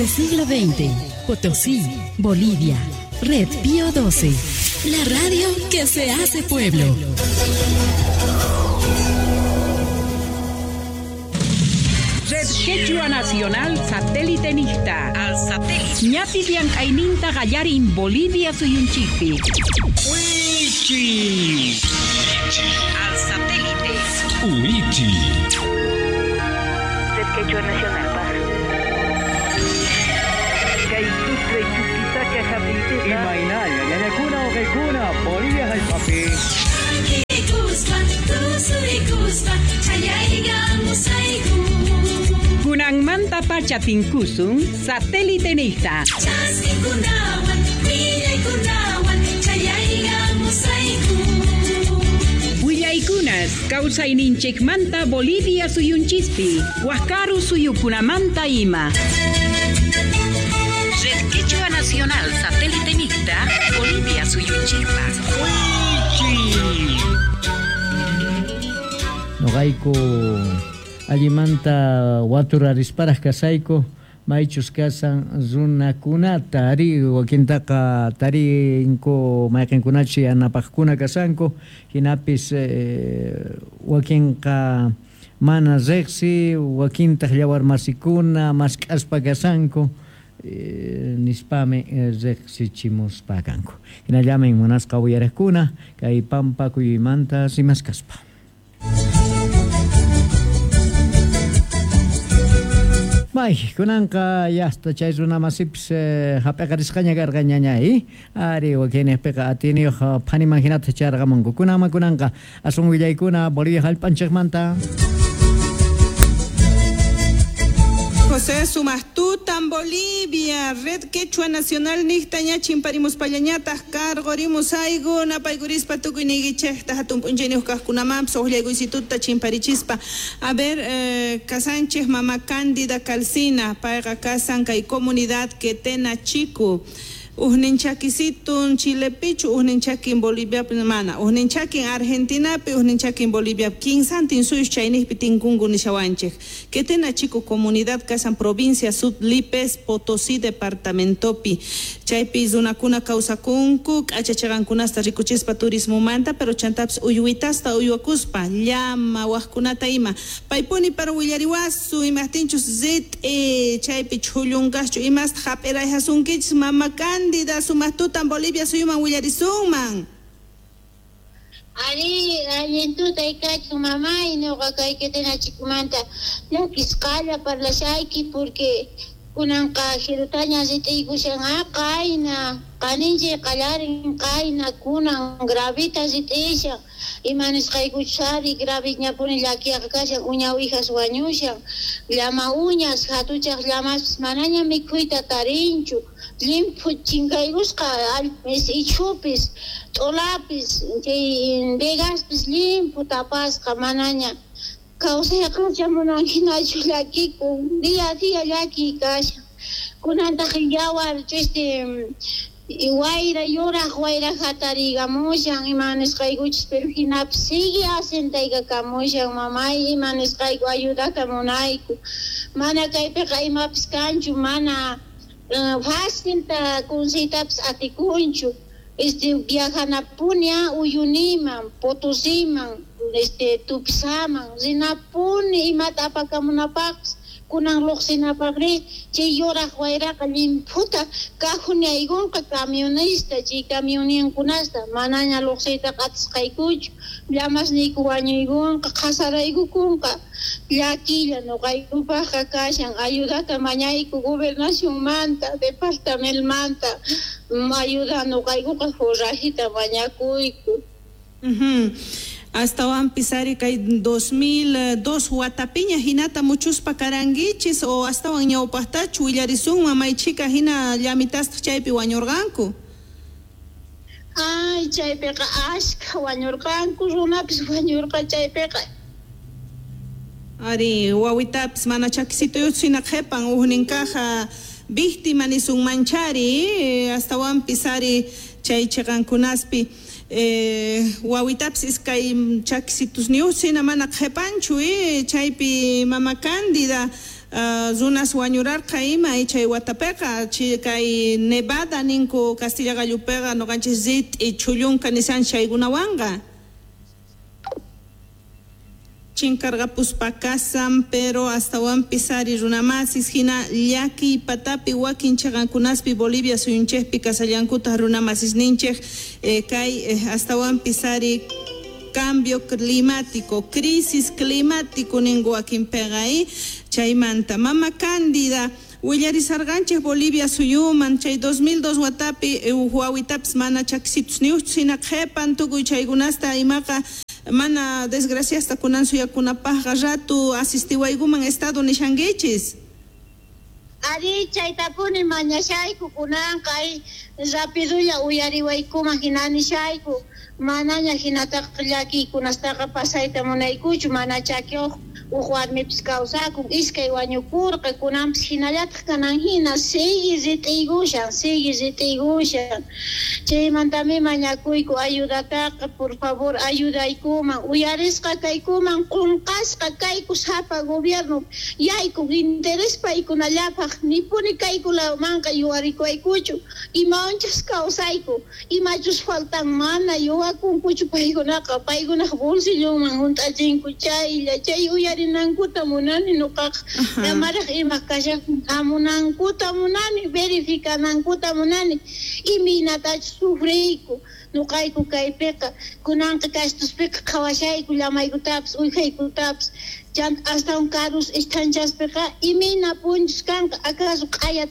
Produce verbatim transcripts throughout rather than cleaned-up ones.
Desde siglo veinte, Potosí, Bolivia. Red Pío doce. La radio que se hace pueblo. Red Quechua Nacional Satélite Nista. Al satélite. Ñapi llank'ayninta qallarin Bolivia suyunchikpi. Wichi. Al satélite. Wichi. Red Quechua Nacional Paz. Imaynalla, ñañakuna uqaykuna, Bolivia hallp'api. Kunanmanta pacha tinkusun satélite nista. Willaykunas kawsayninchikmanta Bolivia suyunchispi, Huascaru suyukunamanta ima. Red Quechua Nacional Satélite Mixta, Bolivia suyunchikpa. Noqayku allimanta waturarishparaj kasayku maychus kasan runakunata ari wakintaqa tarinku mayqinkunachi yanapaqkuna kasanku hinapis eh, wakinqa mana riqsi wakintaq llawarmasikuna mask'aspa kasanku eh, nispami eh, riqsichimuspa kanku hinallamin munasqa uyariqkuna kay pampa kuyuymanta rimaskaspa. May, kunanqa yasta chay runamasipis eh, hap'iqarisqaña karqa ñañay ari wakinniqpiqa atiniyuq phaniman hinata charqamunku kunanman kunanqa asun willaykuna Bolivia hallp'anchikmanta. José Sumastutan, Bolivia, Red Quechua Nacional Nixtaña, Chimparimuspallañatas, Cargorimus Aigo, Napaygurispa, Tukuyniguichejta, Hatumpuncheniuskaskunamamps, Ojllaiguisituta, Chimparichispa. A ver, eh, Casanches, Mamá Cándida Calcina, Paiga Casan, Kay Comunidad, Quetena Chico. Ujninchakisitun Chilepichu, ujninchakin Bolivia mana, ujninchakin Argentinapi, ujninchakin Bolivia, kinsantin suyus chaynijpi tinkunku nishawanchej. Quetena Chico comunidad kasan provincia Sud Lipes, Potosí departamentopi. Chaypi runakuna kawsakunku, k'achachaqankunasta rikuchispa turismomanta, pero chantapis uyuitasta uywakuspa, llama wajkunata ima. Paypuni para willariwasu, imajtinchus rit'i, chaypi chhullunqaschu, imasta hap'irayhasunkichis mama Cándida, sumaqtutan Bolivia suyuman willarisunman. Ari, allintuta ikachu mamay, nuqa kay Quetena Chicomanta llakisqalla parlashayki porque kunanqa jirutaña rit'iykushan qayna, qaninchik qallarin qayna kunan gravita rit'ishan, ima nisqaykuchus ari graviñapuni llakiyaqa kashan, uña uwijas wañushan, llama uñas, hatuchaq llamaspis manaña mikhuyta tarinchu, llimphu chinkaykusqa ichhupis, t'ulapis, chay vegaspis llimphu tapasqa manaña kawsayqa chamunan hinachu llakikun, día a día llakiy kashan. Kunantaq yawar este wayra yuraq wayra hatarigamushan ima nisqaykuchis pero hinapis sigue asentaykamushan mamay ima nisqayku ayudata munayku mana kaypiqa imapis kanchu mana uh, fácilta kunsiytapis atikunchu este viajanapuni Uyuniman Potosiman este Tupisaman rinapuni imata apakamunapaqpis kunan luqsinapaqri chay yuraq wayraqa llimphuta kajunaykunqa camionista chay camioninkunasta manaña luqsiytaqa atisqaykuchu llamasniyku wañuykunqa qhasaraykukunqa llakilla nuqaykupaqqa kashan ayudata mañayku gobernacionmanta departamentomanta ayuda nuqaykuqa forrajita mañakuyku. Uh-huh. Astawanpis ari kay dos mil dos watapiña hinata muchuspa karankichis o astawan ñawpaqtachu willarisunman maychika hina llamitasta chaypi wañurqanku. Ay, chaypiqa ashka wañurqanku, runapis wañurqa chaypiqa. Ari, wawitapis mana chakisituyuchu hina qhipan ujninkaqa víctima nisunmanchari, astawanpis ari chay chiqankunaspi Eh, wawitapis iskay chakisitusniyuq hina mana qhipanchu eh, chaypi mama Cándida Runas wañurarqa ima chay watapiqa kay nevada ninku Castilla gallupiqa noqanchis rit'i chullunka nisan chaykunawanqa chinkarqapuspa kasan pero astawanpis ari runamasis hina llakiy patapi wakin chaqankunaspi Bolivia suyunchikpi kasallankutaq runamasis ninchik eh, kay eh, astawanpis ari cambio climático, crisis climático ninku wakinpiqa chaymanta mama Cándida willarisarqanchik Bolivia suyuman chay dos mil dos watapi wawitapis mana chakisitus niuchu hina qhepan tukuy chaykunasta imaqa mana desgraciasta kunan suyakunapaqqa ratu asistiwaykuman estado nishankichis. Ari chaytapuni mañashayku kunanqa rapidulla uyariwaykuman hina nishayku manaña hinataqa llakiykunastaqa pasayta munaykuchu mana chakiyuq uj warmipis kawsakun iskay wañukurqa kunanpis hinallataq kanan hina sigue rit'iykushan sigue rit'iykushan chaymantami mañakuyku ayudataqa por favor ayudaykuman uyarisqa kaykuman qunqasqa kayku sapa gobierno yayku interés paykunallapaq nipuni kaykunamanqa yuwarikuwaykuchu imawanchus kawsayku imachus faltan mana yuwakunkuchu paykunaqa paykunaq bolsillonman hunt'achinku chaylla chay uyari nankuta munani nuqaqa amaraq ima kashan hamunankuta munani verificanankuta munani imaynatachus sufriyku nuqayku kaypiqa kunanqa kastuspiqa qhawashayku llamaykutapis uwijaykutapis chanta astawan karus isthanchaspiqa imayna punchus kanqa acaso q'aya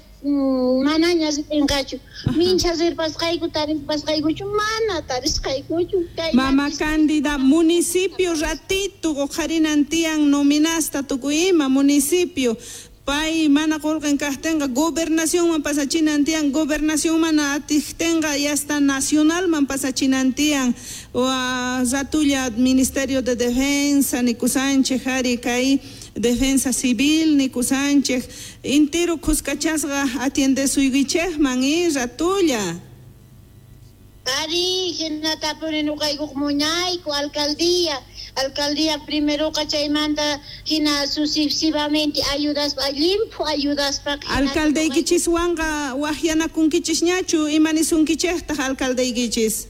manaña ritinqachu mincha rirpasqayku tarisqaykuchu mana tarisqaykuchu. Mama Cándida municipio ratito uqharinan tiyan nominasta tukuy ima municipio pay mana qullqin kaqtinqa gobernacionman pasachinan tiyan gobernación mana atiqtinqa y hasta nacionalman pasachinan tiyan ratulla Ministerio de Defensa nikusanchik ari kay Defensa Civil nikusanchik intiro kuskachasqa atiendesuykichikman y ratulla. Ari hinatapuni nuqaykuq muñayku alcaldía alcaldía primeroqa chaymanta hina sucesivamente ayudaspa llimphu ayudaspa alcaldeykichiswanqa waqyanakunkichisñachu ima nisunkichiktaq alcaldeykichis?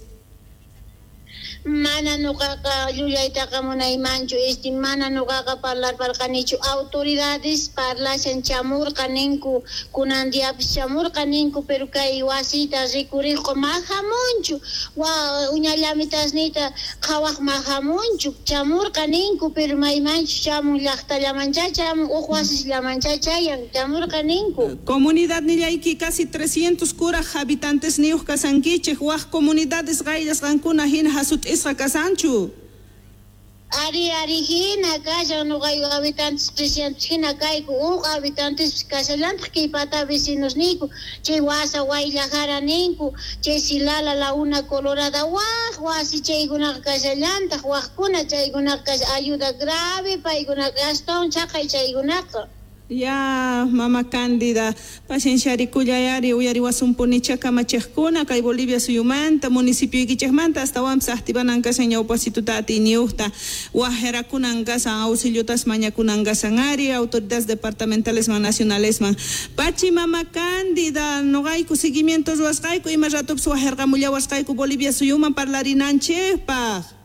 Mana nuqaqa llullaytaqa munaymanchu este mana nuqaqa parlarparqanichu autoridades parlashan chamurqa ninku kunan diapis chamurqa ninku pero kay wasita rikuriqqa mahamunchu wa uñallamitasniyta qhawaq mahamunchu chamurqa ninku pero maymanchu chamun llaqtallamancha chamun uq wasisllamancha chayan chamurqa ninku. Comunidad nillayki casi trescientos kuraj habitantes niyuq kasankichik waq comunidades qayllasqankuna hina hasut'isqa kasanchu. Ari ari hina kashan nuqayku habitantes trescientos hina kayku uq habitantes kashallantaq kay pata vecinos niyku chay wasa Wayllajara ninku chay Silala la una Colorada waq wasi chaykunaqa kashallantaq waqkuna chaykunaqa kasha ayuda grave paykunaqa astawan chaqay chaykunaqa. Ya, mama Cándida, pacienciarikuyayari uyariwasumpunicha kamachiqkuna kay Bolivia suyumanta municipioykichikmanta astawanpis activanan kashan ñawpasituta atiyniyuqta wajerakunan kasan auxiliotas mañakunan kasan ari autoridades departamentalesman nacionalesman pachi mama Cándida noqayku seguimiento ruwasqayku ima ratupis wajerqamullawasqayku Bolivia suyuman parlarinanchikpaq.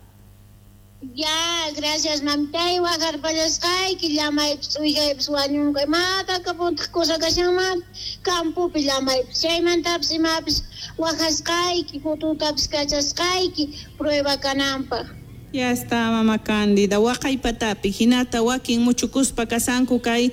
Ya, gracias mamtay waqarpallasqayki llamaypis uwijaypis wañunqa imata kapuntaq cosa kashanman campopi llamaypis chaymantapis imapis waqasqayki fotutapis kachasqayki prueba kananpaq. Ya está mama Cándida, waqay patapi hinata wakin muchukuspa kasanku kay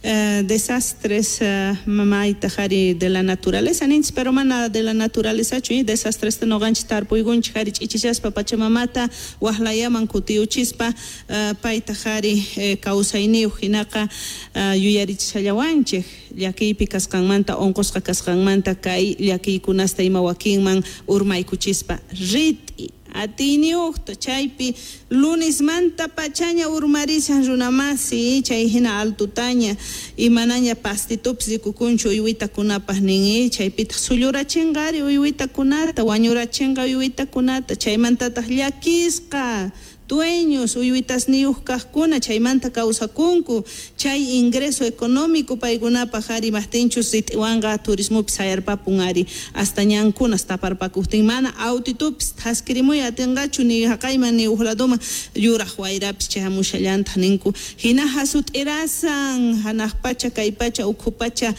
eh, desastres eh, mamayta jari de la naturaleza ninchis pero mana de la naturaleza chu eh, desastres noqanchis tarpuykunchik jari ch'ichishaspa pachamamata waqlayaman kutiyuchispa eh, payta jari eh, kawsayniyuq hinaqa eh, yuyarichishallawanchik llakiypi kasqanmanta unqusqa kasqanmanta kay llakiykunasta ima wakinman urmaykuchispa rit'i atiyniyuqta chaypi lunismanta pachaña urmarishan runamasi chay hina altutaña imanaña pastitupis rikukunchu uywitakunapaq nin chaypitaq sullurachinqari uywitakunata wañurachinqa uywitakunata chaymantataq llakisqa dueños uywitasniyuq kaqkuna chaymanta kawsakunku chay ingreso económico paykunapaq ari maqtinchus rit'iwanqa turismopis sayarpapun ari hasta ñankunas taparpakuqtin mana autitupis thaskirimuy atinqachu ni haqayman ni uq ladoman yuraq wayrapis chayamushallantaq ninku hina hasut'irasan hanaq pacha kay pacha ukhu pacha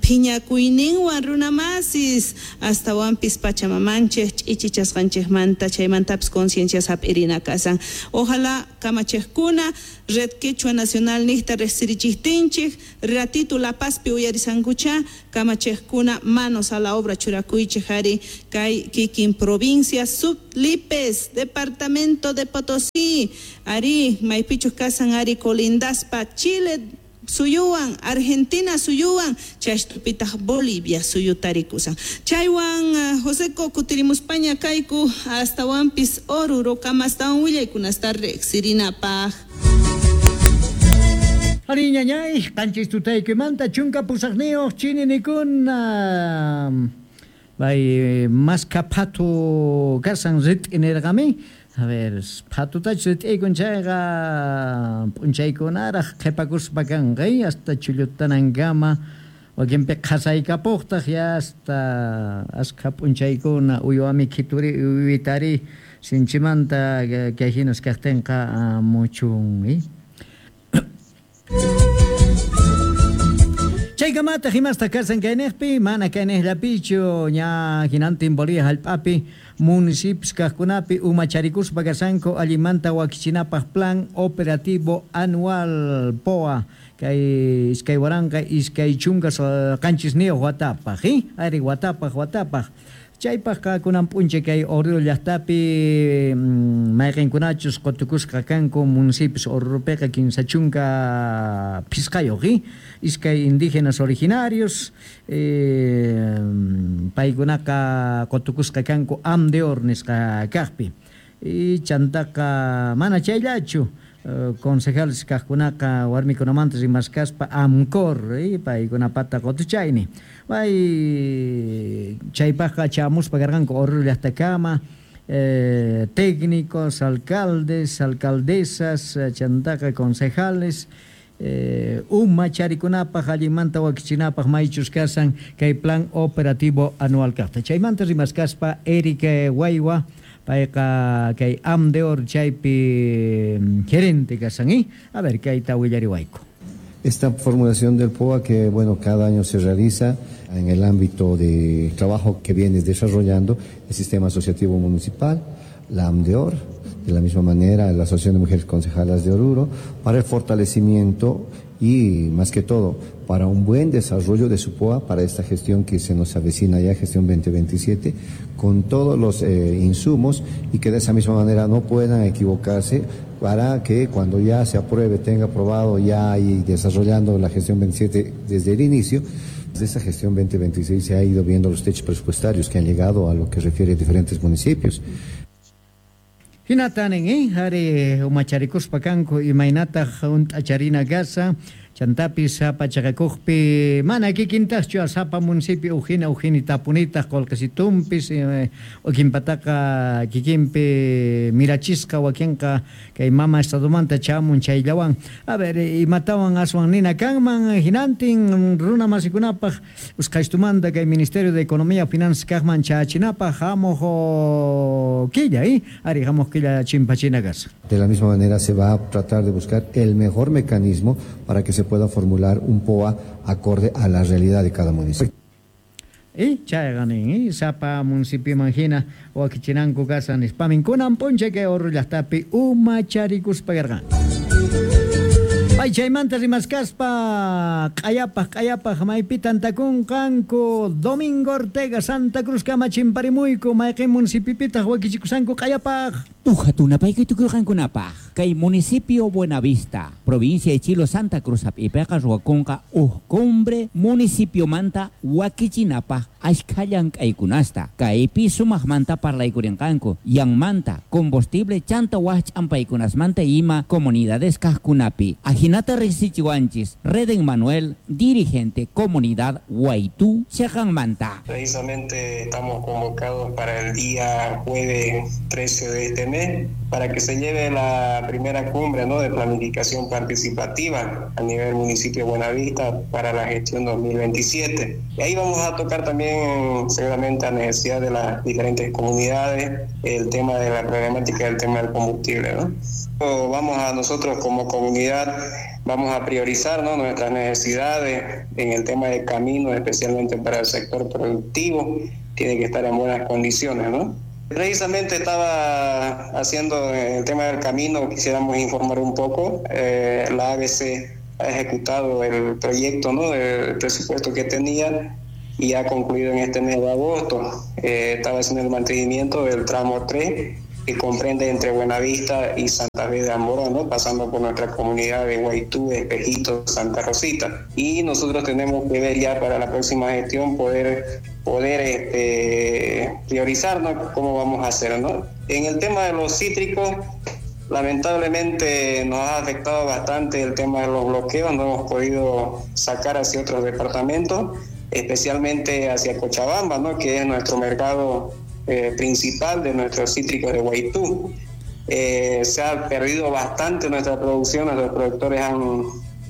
phiñakuyninwan runamasis astawanpis pachamamanchik ch'ichichasqanchikmanta chaymantapis conciencia hap'irina kasan ojalá kamachiqkuna Red Quechua Nacional niqta riqsirichiqtinchik ratito La Pazpi uyarisankucha kamachiqkuna manos a la obra churakuychik ari kay kikin provincia Sublipes departamento de Potosí ari maypichus kasan ari colindaspa Chile suyuwan Argentina suyuwan chashtupitaq Bolivia suyutarikusan chaywan Joseco kutirimuspaña kayku astawanpis Oruro kamastawan willaykunasta riqsirinapaq. Ari ñañay qanchis tutaykimanta chunka pusaqniyuq chininikuna bay maska phatu kasan rit'inirqami. A ver, phatutach rit'iykun chayqa p'unchaykunaraq qhipakuspa kanqa hasta chullutanankama wakinpi qhasaykapuqtaq ya hasta askha p'unchaykuna uywami khituri uywitari sinchimanta kay hinas kaqtinqa muchun. Chaykamata himasta kasan kayniqpi mana kayniqllapichu ña hinantin Bolivia hallp'api municipios kaqkunapi umacharikuspa kasanku allimanta wakichinapaq plan operativo anual P O A kay iskay waranqa iskay chunka qanchisniyuq watapaq ari watapaq watapaq chaypaqqa kunan p'unchay kay Oruro llaqtapi mayqinkunachus qutukusqa kanku municipios Oruropiqa kinsa chunka phisqayuq iskay indígenas originarios eh, paykunaqa qutukusqa kanku AMDEOR nisqa kaqpi y chantaqa mana chayllachu concejales kaqkunaqa warmikunamanta rimaskaspa AMCOR paykunapata qutuchayni bay chaypaqqa chamuspa karqanku Oruro llaqtakama eh, técnicos, alcaldes, alcaldesas, chantaqa concejales eh, umacharikunapaq allimanta wakichinapaq maychus kasan kay plan operativo anual kaqta chaymanta rimaskaspa Erika Waywa payqa kay AMDEOR chaypi gerente kasan ¿eh? A ver kayta willariwayku. Esta formulación del P O A que bueno cada año se realiza en el ámbito de trabajo que viene desarrollando el sistema asociativo municipal, la AMDEOR, de la misma manera la Asociación de Mujeres Concejalas de Oruro, para el fortalecimiento y más que todo para un buen desarrollo de su P O A para esta gestión que se nos avecina ya, gestión veinte veintisiete, con todos los eh, insumos y que de esa misma manera no puedan equivocarse para que cuando ya se apruebe, tenga aprobado ya y desarrollando la gestión veintisiete desde el inicio. Desde esa gestión veinte veintiséis se ha ido viendo los techos presupuestarios que han llegado a lo que refiere a diferentes municipios. Hinatanin, eh, ari umacharikuspa kanku imaynataq hunt'acharina kasa chantapis sapa chaqakuqpi mana kikintaqchu sapa municipio ujina ujini tapunitaq qullqisitumpis eh, wakinpataqa kikinpi mirachisqa wakinqa kay mama estadomanta chamun chayllawan a ver imatawan aswan nina kanman hinantin runa masikunapaq usqhaystumanta kay Ministerio de Economía Finanzas kaqman chachinapaq hamuq killa eh ari hamuq killa chimpachina kasa. De la misma manera se va a tratar de buscar el mejor mecanismo para que se pueda formular un P O A acorde a la realidad de cada municipio. Y chayqanin, sapa municipio manjina wakichinanku kasa nispamin kunan p'unchay kay Oruro llaqtapi umacharikuspa karqan. Pay chaymanta rimaskaspa q'ayapaq q'ayapaq maypi tantakunqanku Domingo Ortega Santa Cruz kama chimparimuyku mayqin municipipitaq wakichikusanku q'ayapaq. Ujatunapayki tukurqankunapaq kay municipio Buenavista, provincia de Chilo Santa Cruz ap'ipiqa ruwakunqa uj cumbre municipiomanta wakichinapaq ashkha llank'aykunasta kaypi sumaqmanta parlaykurinqanku yanmanta combustible chanta waj ch'ampaykunasmanta ima comunidades kaqkunapi. Ajinata riqsichiwanchis Reden Manuel, dirigente comunidad Guaytú, Chejanmanta. Precisamente estamos convocados para el día jueves trece de este mes. mes para que se lleve la primera cumbre, ¿no?, de planificación participativa a nivel municipio de Buenavista para la gestión dos mil veintisiete. Y ahí vamos a tocar también seguramente a necesidad de las diferentes comunidades, el tema de la problemática del tema del combustible, ¿no? Vamos a nosotros como comunidad, vamos a priorizar, ¿no?, nuestras necesidades en el tema de caminos, especialmente para el sector productivo, tiene que estar en buenas condiciones, ¿no? Precisamente estaba haciendo el tema del camino, quisiéramos informar un poco. Eh, la A B C ha ejecutado el proyecto, ¿no?, del presupuesto que tenía y ha concluido en este mes de agosto. Eh, estaba haciendo el mantenimiento del tramo tres, que comprende entre Buenavista y Santa Fe de Amboró, ¿no?, pasando por nuestra comunidad de Guaytú, Espejito, Santa Rosita. Y nosotros tenemos que ver ya para la próxima gestión poder, poder este, priorizar, ¿no?, cómo vamos a hacer, ¿no? En el tema de los cítricos, lamentablemente nos ha afectado bastante el tema de los bloqueos, no hemos podido sacar hacia otros departamentos, especialmente hacia Cochabamba, ¿no?, que es nuestro mercado Eh, principal de nuestros cítricos de Guaytú. Eh, se ha perdido bastante nuestra producción, nuestros productores han,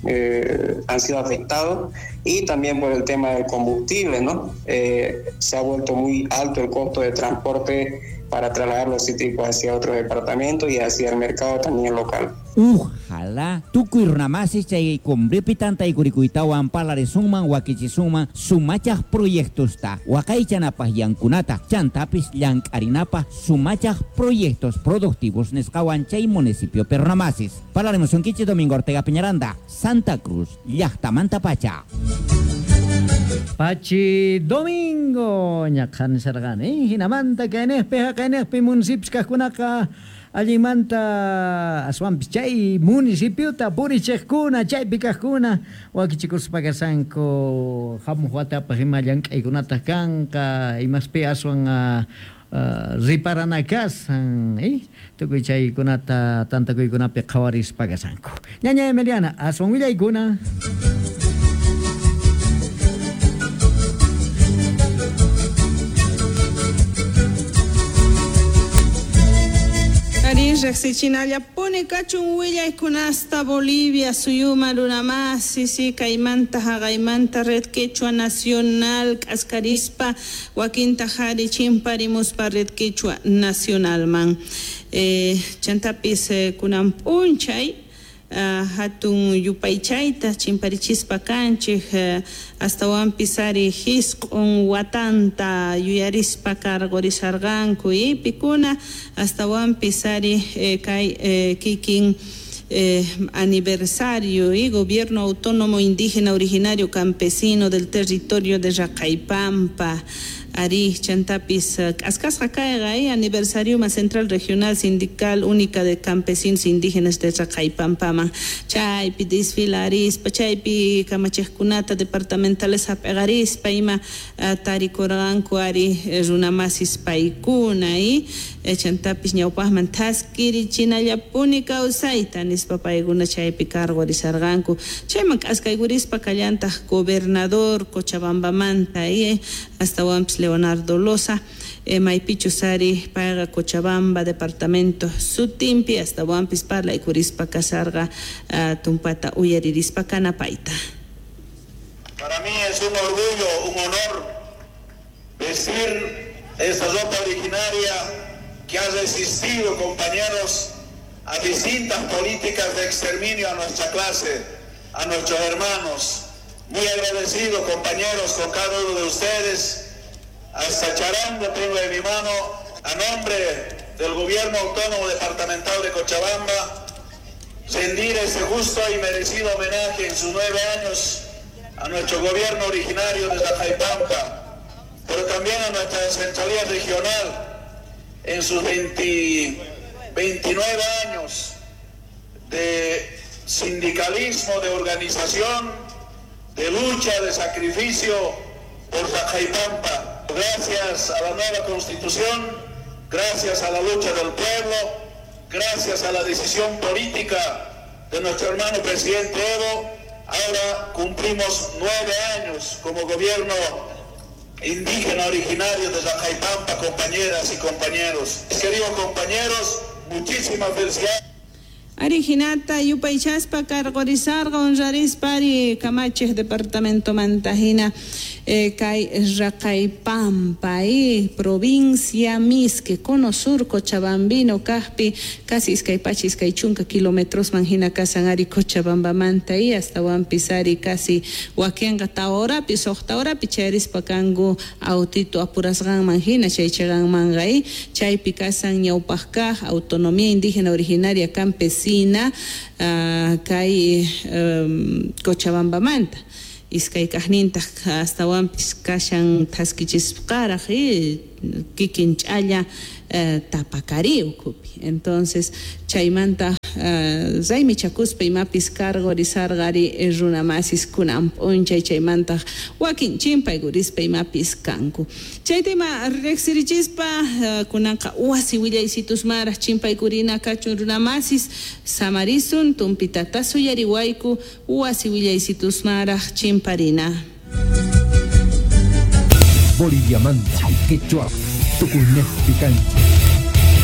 eh, han sido afectados, y también por el tema del combustible, ¿no? Eh, se ha vuelto muy alto el costo de transporte para trasladar los cítricos hacia otros departamentos y hacia el mercado también local. Ojalá tukuy runamasis chay cumbrepi tantaykurikuytawan parlarisunman wakichisunman sumachaj proyectosta waqaychanapaj yankunata chantapis llank'arinapaj sumachaj proyectos productivos nisqawan chay municipio perunamasis. Parlarimusunkichis Domingo Ortega Peñaranda, Santa Cruz, llaqtamanta pacha. Pachi Domingo ñaqhan sarqani hinamanta kaynejpi haqaynejpi municipios kaqkunaqa allinmanta aswanpis chay municipiota purichiqkuna chaypi kaqkuna wakichikuspa kashanku hamuq watapaq ima llank'aykunataq kanqa imaspi aswan uh, riparana kasan eh tukuy chaykunata tantakuykunapi qhawarispa kashanku. Ñaña Emiliana, aswan willaykuna. Riqsichinallapuni kachun willaykunasta Bolivia suyuma runamasi si kaymanta haqaymanta Red Quechua Nacional k'askarispa wakinta qhari chimparimuspa Red Quechua Nacionalman. Eh, chantapis eh, kunan p'unchay Uh, hatun yupaychayta chimparichispa kanchik uh, astawanpis ari hisq'un watanta yuyarispa karqurisharqanku ipikuna astawanpis ari eh, kay eh, kikin Eh, aniversario y gobierno autónomo indígena originario campesino del territorio de Raqaypampa Ari chantapis k'askasqa kayqa eh, aniversario más central regional sindical única de campesinos indígenas de Raqaypampaman chaypi desfilarispa chaypi kamachiqkunata departamentales hap'aqarispa ima uh, tarikurqanku ari runamasis paykuna y eh, chantapis ñawpaqman thaskirichinallapuni kawsayta nispa paykuna chaypi karqurisarqanku chayman k'askaykurispa kallantaq gobernador Cochabambamanta y astawanpis Leonardo Loza, eh, maypichus ari payqa Cochabamba departamento sutinpi astawanpis parlaykurispa kasarqa uh, tumpata uyaririspa kanapayta. Para mí es un orgullo, un honor vestir esta ropa originaria que ha resistido, compañeros, a distintas políticas de exterminio a nuestra clase, a nuestros hermanos. Muy agradecido, compañeros, con cada uno de ustedes. Hasta charango tengo en mi mano, a nombre del Gobierno Autónomo Departamental de Cochabamba, rendir ese justo y merecido homenaje en sus nueve años a nuestro gobierno originario de Raqaypampa, pero también a nuestra centralía regional en sus veinte, veintinueve años de sindicalismo, de organización, de lucha, de sacrificio por Raqaypampa. Gracias a la nueva Constitución, gracias a la lucha del pueblo, gracias a la decisión política de nuestro hermano presidente Evo, ahora cumplimos nueve años como gobierno indígena originario de Raqaypampa, compañeras y compañeros. Queridos compañeros, Muchísimas felicidades. Ari hinata yupaychaspa karqorisarqa honrarispa ari kamachej departamento mantajina eh, kay Raqaypampa eh, provincia Misque cono sur Cochabambino kajpi casi iskay pacha iskay chunka kilómetros manjina kasan ari Cochabambamanta y hasta wampis ari casi wakenqa tawa horapi suqta horapi chayrispa kanku autito apurasqanman hina chay chayqanmanqa eh, chaypi kasan ñawpaq kaq autonomía indígena originaria campesina Uh, kay um, Cochabambamanta iskay kaqnintaq astawanpis kashan thaskichisqaraq eh, kikin ch'alla uh, tapakari ukhupi. Entonces chaymanta uh, raymichakuspa imapis karqorisarqari runamasis kunan p'unchay chaymantaq wakin chimpaykurispa imapis kanku. Chayta ima riqsirichispa uh, kunanqa wasi willaysitusmaraq chimpaykurina kachun runamasis samarisun tumpitata suyariwayku wasi willaysitusmaraq chimparina. Bolivia manta, Quechua, Tucumán, Picancha.